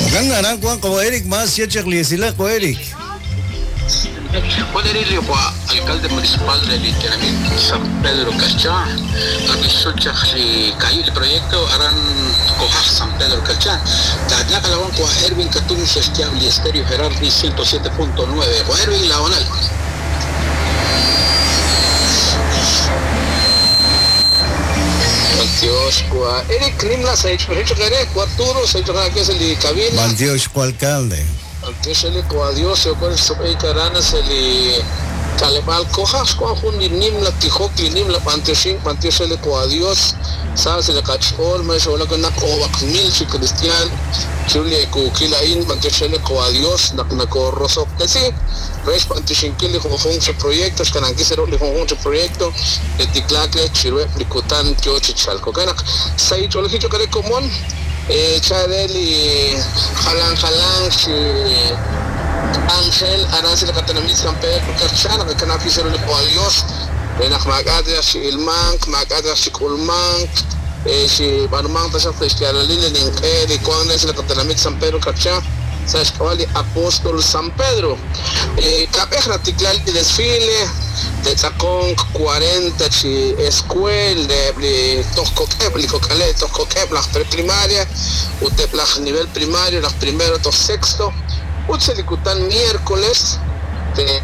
Jo'kan aran wank qawa' Eric, mas xye chaq li esilal qawa' Eric. Juan Erilio alcalde municipal de Literamit San Pedro Carchá, Abisuchaj li kayi proyecto aran Kojaj San Pedro Carchá, Tatnaka la kwa Erwin Katun Sestiabli Estéreo Gerardi 107.9, Juan Erwin Laonal. Dios kwa Eric Nimla sa Arturo sa que cabina. Dios kwa alcalde. Antisheli kwa Dios yo con su karana se li kalebal kojas kwa jun li nimla tijok li nimla panteshin pantesheli kwa Dios sabes le kachol me shola con nak obak mil chi cristian chuli ku kila in pantesheli kwa Dios nak nako rosok tesi res panteshin kili jun su proyecto kanan kisero li jun su proyecto de tiklakle chirue likutan tio chichalco kanak sai cholo kare komon Chadeli Jalan Jalan si Ángel Arance la Catanamit San Pedro Carchana que kana fisero le Dios renak magadra si ilmank magadra si kulmank si barmank tasha festialalile nin eri cuando es la Catanamit San Pedro Carchana Sashkawali Apóstol San Pedro Kapejra tiklal desfile de Zacón 40 chi escuel de Toscoquep, Licocale, Toscoquep, la preprimaria, Uteplaj nivel primario, las primero, tos sexto, Utselicután miércoles de